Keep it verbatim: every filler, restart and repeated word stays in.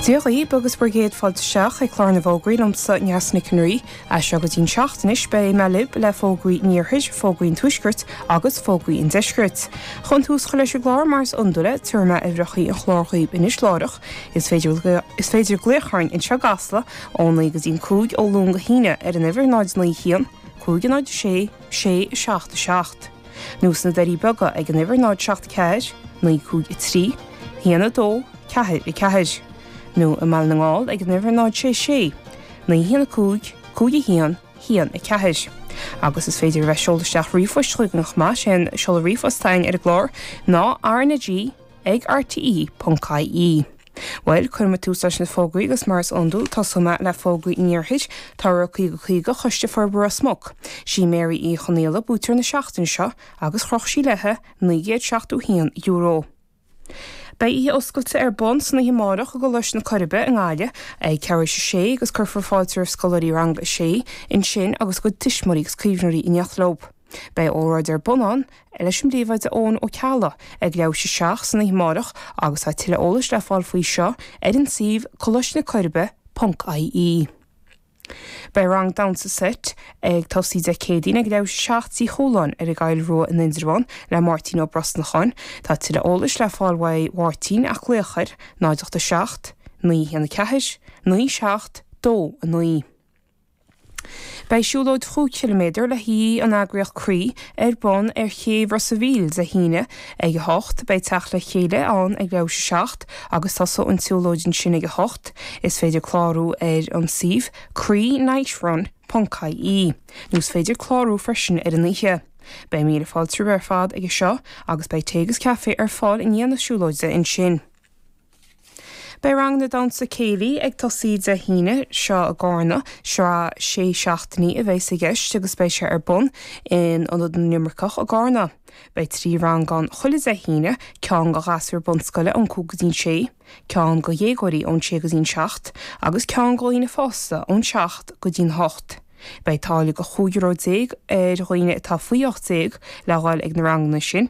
Dia dhaoibh agus bhur gcéad fáilte isteach ag clár na bhfógraí liomsa Neasa Nic an Rí, as seo go dtí'n seacht anois beidh mé libh le fógraí an iarthair, fógraí an tuaiscirt agus fógraí an deiscirt. Chun tús a chur leis an gclár mar is iondúil tabharfaidh mé uimhreacha an chláir dhaoibh anois láithreach, is féidir is féidir glaoch orainn anseo i gCasla ó naoi go dtí'n cúig ó Luan go hAoine ar an uimhir náid naoi haon, cúig náid sé, sé seacht a seacht. Nó sna Doirí Beaga ag an uimhir náid seacht ceathair, naoi cúig a trí, haon a dó, ceathair a ceathair. Nó i mBaile na nGall ag an uimhir náid sé sé, naoi haon a cúig, cúig a haon, haon a ceathair. Agus is féidir a bheith seoladh isteach ríomhphoist chugainn chomh maith sin seoladh ríomhphost againn ar an gclár ná RnaG ag RTE ponc IE. Bhuel, cuirfidh mé tús leis na fógraí agus mar is iondúil tosóidh mé le fógraí an iarthair Toradh caoga caoga Choiste Forbartha Ros Muc. Sí Mary Uí Chonaola buaiteoir na seachtaine seo agus chroch sí léi naoi gcéad seachtó haon euro. Beidh oíche oscailte ar bun san oíche amárach i gColáiste na Coiribe i nGaillimh ag ceathrú a sé agus cuirfear fáilte roimh scoláirí rang a sé ansin agus a gcuid tuismitheoirí agus caomhnóirí in éineacht leo. Beidh óráid ar bun ann leis an bpríomhoide Eoin Ó Ceallaigh ag leathuair tar éis a seacht san oíche amárach agus tá tuilleadh eolais le fáil faoi seo ar an suíomh Coláiste na Coiribe ponc IE. Beidh rang damhsa seit ag tosaí Dé Céadaoin ag leathuair tar éis a seacht Tigh Chualáin ar an gCoill Rua in Indreabhán le Máirtín Ó Brosnacháin, Tá tuilleadh eolais le fáil uaidh Mháirtín ach glaoch ar náid ocht a seacht, naoi haon a ceathair, naoi seacht, dó a naoi. Beidh siúlóid chúig chiliméadar le haghaidh an eagraíocht Croí ar bun ar chéibh Ros an Mhíl Dé hAoine ag a hocht, beidh teacht le chéile ann ag leathuair tar éis a seacht agus tosóidh an tsiúlóid ansin ag a hocht. Is féidir clárú ar an suíomh croí-nightrun ponc IE. Nó is féidir clárú freisin ar an oíche. Beidh míle fáilte ar fad ag seo agus beidh tae agus caife ar fáil i ndiaidh na siúlóide ansin. Beidh rang na damhsa céilí ag tosaí Dé hAoine seo i gCarna sraith sé seachtainí a bheidh i gceist agus beidh sé ar bun in Ionad na nImirceach i gCarna. Beidh trí rang ann chuile Dé hAoine, ceann do ghasúir bunscoile ón cúig go dtí'n sé, ceann do dhéagóirí ón sé go dtí'n seacht, agus ceann do dhaoine fásta ón seacht go dtí'n hocht. Beidh táille de chúig euro déag ar dhaoine atá faoi ocht déag le dhul ag na ranganna sin